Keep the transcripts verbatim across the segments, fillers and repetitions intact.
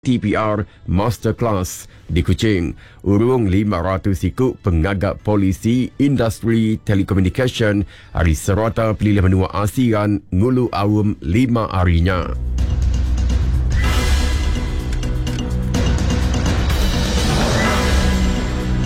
T P R Masterclass di Kuching. Urung lima ratus iku pengagak polisi industri telekomunikasyen hari serata pelilih menua ASEAN ngulu awam lima harinya.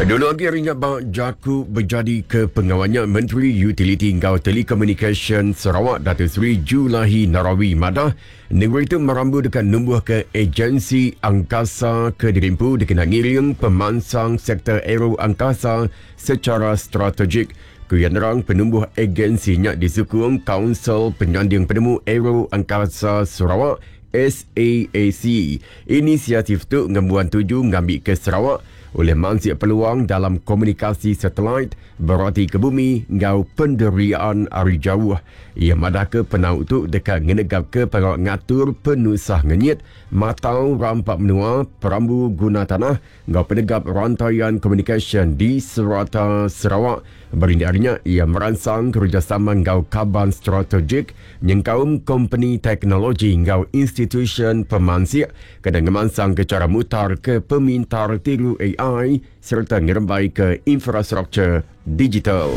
Dulu lagi hari nya bak jaku berjadi ke pengawalnya Menteri Utiliti Ngau Telekomunikasyen Sarawak Datuk Seri Julaihi Narawi madah negeri itu merambu dekat numbuh ke agensi angkasa ke dirimpu dikena ngiring pemansang sektor aero angkasa secara strategik. Kuya nerang penumbuh agensinya disukung Kaunsil Penyanding Penemu Aero Angkasa Sarawak S A A C. Inisiatif tu ngembuan tuju ngambil ke Sarawak oleh mansik peluang dalam komunikasi satelit berarti ke bumi ngau penderiaan ari jauh. Ia madah ke penau tu dekat ngenegap ke pengawal ngatur penusah ngenyit, matau rampak menua, perambu guna tanah, ngau penegap rantaian komunikasi di serata Sarawak. Berindik harinya, ia merangsang kerjasama ngau kaban strategik, nyengkaum company teknologi ngau institution pemansik, kena ngemansang ke cara mutar ke pemintar tiru A I serta ngerembai ke infrastruktur digital.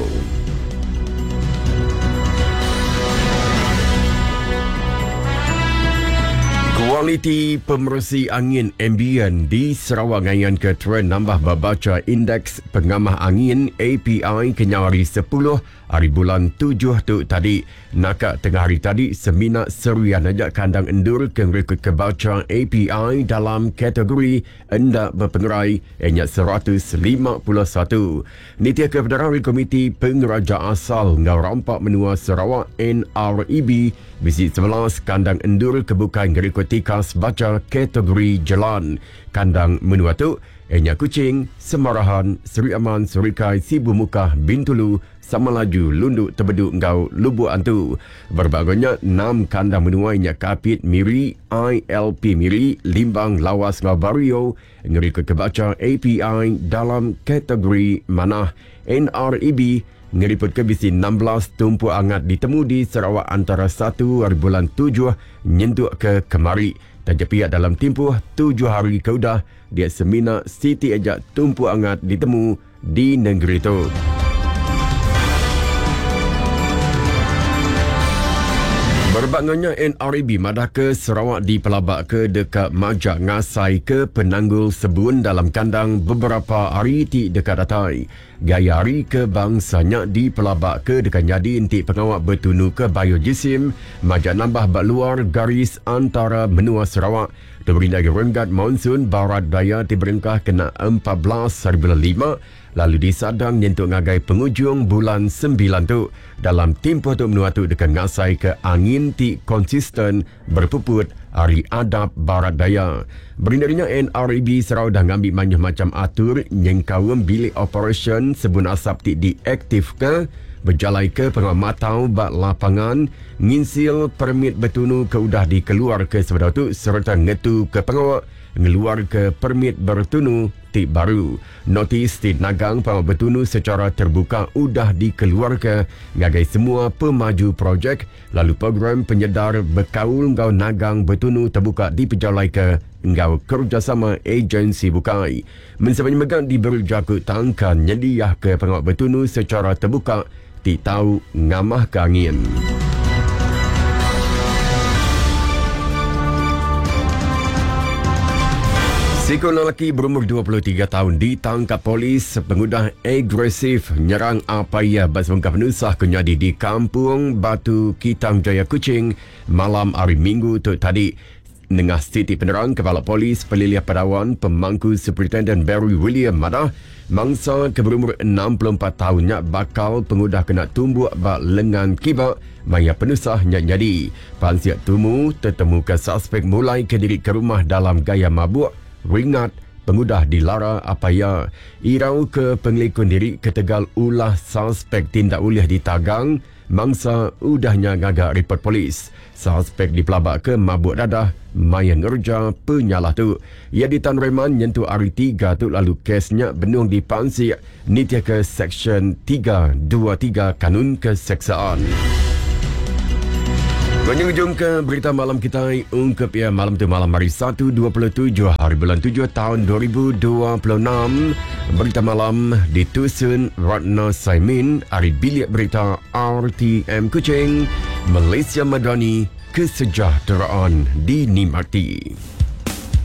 Kualiti pemersi angin ambient di Sarawak ngayan ke trend nambah berbaca indeks pengamah angin A P I kenyau hari sepuluh hari bulan tujuh tu tadi. Nakak tengah hari tadi semina serian aja kandang endur ke ngerekod kebaca A P I dalam kategori endak berpengerai ianya seratus lima puluh satu. Nitia ke Federal Komiti Pengeraja Asal Ngau Rampak Menua Sarawak N R E B bisi sebelas kandang endur kebukai ngerekod tikas baca kategori jalan. Kandang menua tu ianya Kuching, Semarahan, Seri Aman, Serikai, Sibu Mukah, Bintulu, Samalaju, Lunduk, Tebedu, Ngau, Lubuk Antu. Berbagainya enam kandang menua ianya Kapit, Miri, I L P Miri, Limbang, Lawas, Ngau Bario ngerikut kebaca A P I dalam kategori manah. N R E B ngeriput ke bisi enam belas tumpu angat ditemu di Sarawak antara satu hari bulan tujuh nyentuk ke kemari. Taja pihak dalam tempoh tujuh hari ke udah, dia semina siti ajak tumpu angat ditemu di negeri tu. Berbanganya N R E B madah ke Sarawak dipelabak ke dekat majak ngasai ke penanggul sebun dalam kandang beberapa hari ti dekat datai. Gaya hari ke bangsanya dipelabak ke dekat jadi entik pengawak bertunu ke biojisim majak nambah bak luar garis antara menua Sarawak. Terberi dari renggat monsun barat daya diberengkah kena empat belas hari bulan lima lalu disadang nyentuk ngagai penghujung bulan sembilan tu. Dalam tempoh tu menua tu dekat ngasai ke angin ti konsisten berpuput hari adab barat daya. Berindarinya N R E B Sarawak dah ngambil banyak macam atur nyengkaum bilik operation sebun asap ti diaktif ke berjalai ke pengamatau bak lapangan nginsil permit bertunu ke udah dikeluar ke sebenar tu serta ngetu ke pengawak ngeluar ke permit bertunu ti baru. Notis ti nagang pengawak bertunu secara terbuka udah dikeluar ke ngagai semua pemaju projek lalu program penyedar berkaul ngau nagang bertunu terbuka dipejalai ke ngau kerjasama agensi bukai. Mensebanya megang diberi jakut tangkan nyediah ke pengawak bertunu secara terbuka ti tau ngamah ke angin. Seekor lelaki berumur dua puluh tiga tahun ditangkap polis pengudah agresif nyerang apa ia bersebengkah penusah kenyadi di Kampung Batu Kitang Jaya Kuching malam hari Minggu tu tadi. Nengah Siti Penerang Kepala Polis Pelilih Padawan Pemangku Superintendent Barry William madah mangsa ke berumur enam puluh empat tahunnya bakal pengudah kena tumbuk bak lengan kibak maya penusah nyak jadi. Pansiak tumu tertemu ke suspek mulai ke diri ke rumah dalam gaya mabuk ringat pengudah dilara apa ya. Irau ke pengelikun diri ketegal ulah suspek tindak ulih ditagang mangsa udahnya ngagak report polis. Suspek dipelabak ke mabuk dadah maya ngerja penyalah tu. Ia ditan reman nyentuh hari tiga tu lalu kesnya benung dipansik nitia ke Seksyen tiga dua tiga Kanun Keseksaan. Menjunjung ke berita malam kita ungkap ya malam tu malam hari satu dua puluh tujuh hari bulan tujuh tahun dua ribu dua puluh enam. Berita malam ditusun Ratna Saimin ari Bilik Berita R T M Kuching, Malaysia Madani, kesejahteraan dinikmati.